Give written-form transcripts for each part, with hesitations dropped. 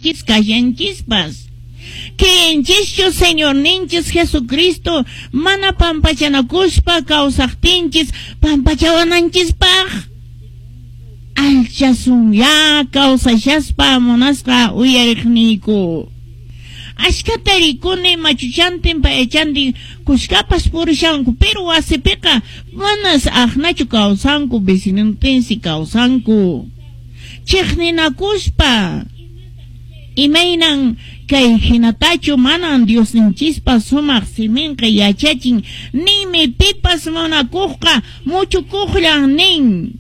Kashanchispas. Creyenchischu Señorninchis Jesucristo mana pampachanakuspa kawsaqtinchis pampachawananchispaq? Alchasunyá kawsashaspa munasqa uyariqniyku. Ashkhata rikuni machuchantin payachantin kushkapas purishanku, pero wasipiqa manas aqnachu kawsanku, vecinontinsi kawsanku. Chiqninakuspa. Imaynan kay hinatachu manan Diosninchispa sumaq siminqa yachachin, ninmi pipas munakuqqa muchukuqllan nin.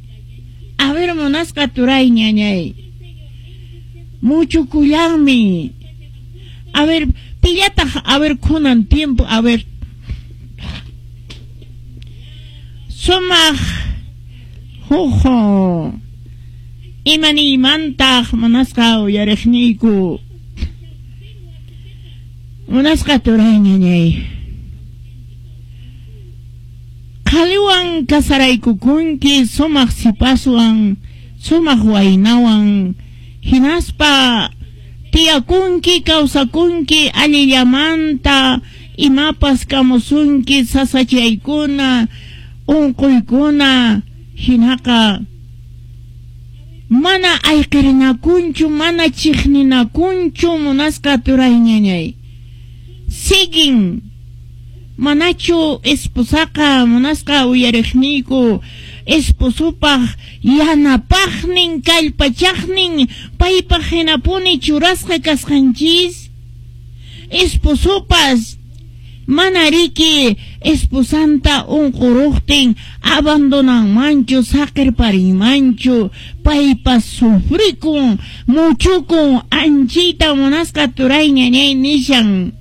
A ver, munasqa turay ñañay. Muchukullanmi. A ver, pillataq, a ver, kunan tiempo, a ver. Sumaq huk imaniymantaq munasqa uyariqniyku. Munasqa turay ñañay. Qhaliwan kasaraykukunki sumaq sipaswan, sumaq waynawan, hinaspa tiyakunki, kawsakunki allillamanta, imapas kamusunki sasachaykuna, unquykuna, hinaqa mana ayqirinakunchu, mana chiqninakunchu munasqa turay ñañay. Siguen manachu esposaqa munasqa uyariqniyku esposopaq yanapaqnin kallpachaqnin paypaq hinapuni churasqa kasqanchis? Esposopas mana riki esposanta unquruqtin abandonanmanchu, saqirparinmanchu, paypas sufrikun, muchukun, anchita munasqa turay ñañay nishan.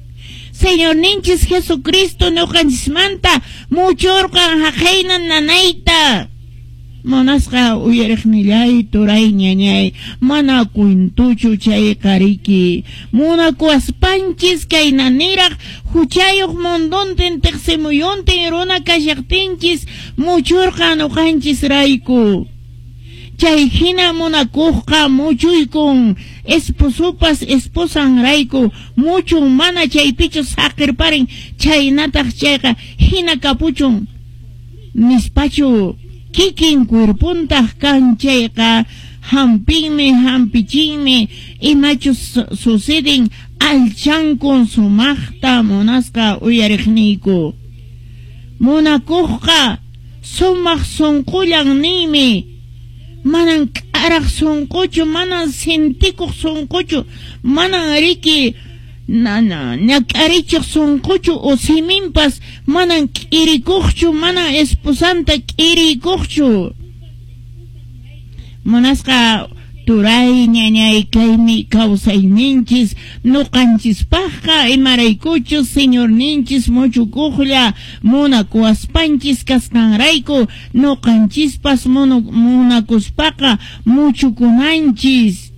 Señorninchis Jesucristo ñuqanchismanta muchurqan haqayna nanayta. Munasqa uyariqnillay turay ñañay, mana cuentuchu chayqa riki. Munakuwaspanchis kaynaniraq huchayuq munduntin tiqsimuyuntin runa kashaqtinchis muchurqan ñuqanchis rayku. Chay hina munakuqqa muchuykun esposopas esposan rayku muchun mana chaypichu saqirparin chaynataq chayqa hina kapuchun nispachu kikin cuerpontaq kan chayqa hampinmi hampichinmi imachus suceden alchankun sumaqta munasqa uyariqniyku. Munakuqqa sumaq sunqullan ninmi. Manan k'araq sunquchu, manan sintikuq sunquchu, manan riki ñak'arichiq sunquchu o siminpas manan k'irikuqchu, manan esposanta k'irikuqchu. Munasqa turay ñañay kaymi kawsayninchis ñuqanchispaqqa imaraykuchus Señorninchis muchukuqlla munakuwaspanchis kasqanrayku ñuqanchispas munakuspaqa muchukunanchis.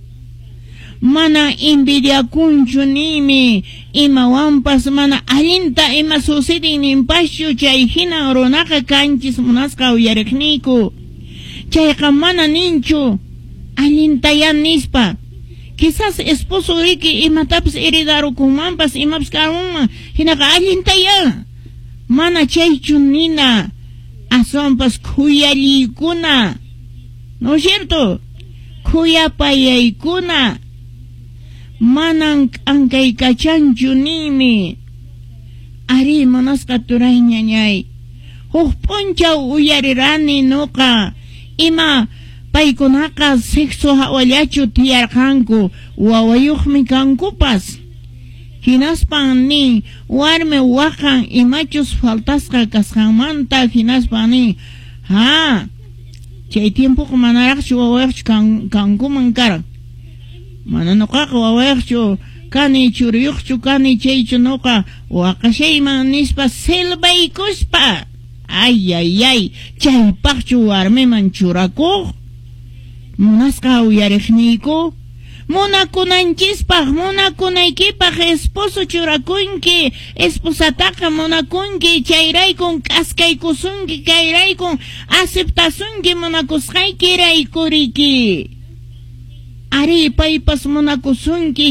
Mana envidiakunchu nimi imawanpas mana allinta ima sucedin ninpaschu chay hina runaqa kanchis munasqa uyariqniyku. Chayqa mana ninchu allintaya nispa. Quizás esposo riki imatapas heredarukunmanpas imapas karunman hinaqa allintaya. Mana chaychu nina aswanpas khuyalliykuna. ¿No es cierto? Khuyapayaykuna. Manan k'ankaykachanchu ninmi. Ari munasqa turay ñañay. Huk p'unchaw uyarirani nuqa ima paykunaqa sexo hawallachu tiyarqanku wawayuqmi kankupas. Hinaspan nin warmi waqan imachus faltasqa kasqanmanta hinaspan nin ha chay tiempoqa manaraqchu wawayuqchu kankuman karan. Mana nuqaqa wawayuqchu kani churiyuqchu kani chaychu nuqa waqashayman nispa silbaykuspa. Ay, ay, ay, chaypaqchu warmiman churakuq? Munasqa uyariqniyku. Munakunanchispaq, munakunaykipaq esposo churakunki, esposataqa munakunki, chayraykun k'askaykusunki, kayraykun aceptasunki munakusqayki raykuriki. Arí, paypas munakusunki.